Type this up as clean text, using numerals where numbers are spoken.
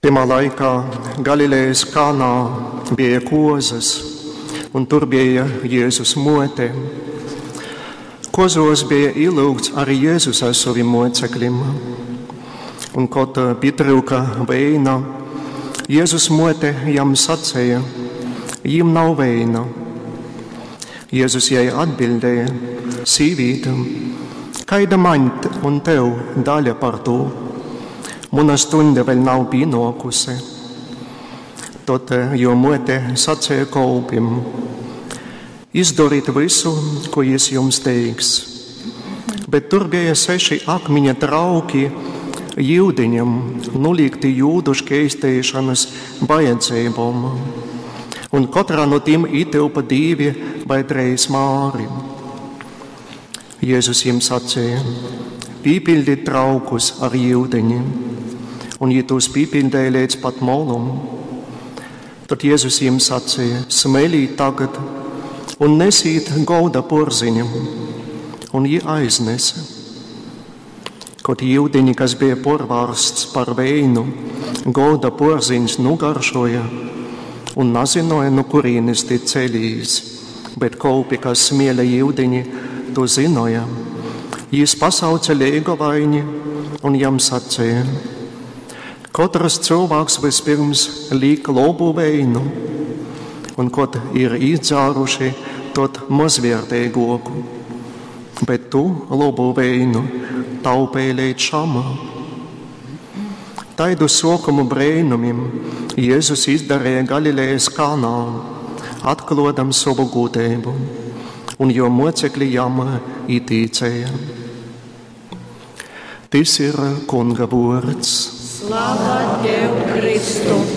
Tymā laikā Galilejas Kanā bija kozas, un tur bija Jēzus mote. Kozos bija ielūgts arī Jēzus ar saviem mocekļiem. Un, kad pietryuka veina, Jēzus mote jam sacīja, jim nav veina. Jēzus jai atbildēja, sīvīte, kaida man un tev daļa par to? Muna stunda vēl nav pienākusi. Tad jo mote sacīja kolpim, izdariet visu, ko jis jums teiks. Bet tur bija seši akmeņa trauki yudiņam, nulikti jūdu škeistēšanas vajadzībām. Un katrā no tiem ietilpa divi vai trīs māri. Jēzus jiem sacīja, pīpildiet traukus ar yudiņi un jī tos pīpildēja līdz pat molum. Tad Jēzus jiem sacīja, smelīt tagad un nesīt golda porziņu, un jī aiznesa. Kaut yudiņi, kas bija porvārsts par veinu, golda porziņš nugaršoja un nazinoja, no kurienes tie ceļīs, bet kolpi, kas smēla yudiņi, to zinoja. Jis pasauca leigovaiņi un jam sacīja, Katrs cilvēks vispirms liek labu veinu, un kad ir izdzēruši, tad mazvērtīgāku. Bet tu labu veinu taupēji līdz šam. Taidu sokumu brēnumim Jēzus izdarīja Galilejas Kanā, atklodam savu gudrību, un jo mocekļi jam ieticēja. Tis ir Kunga vārds. Slava Tev, Kristu!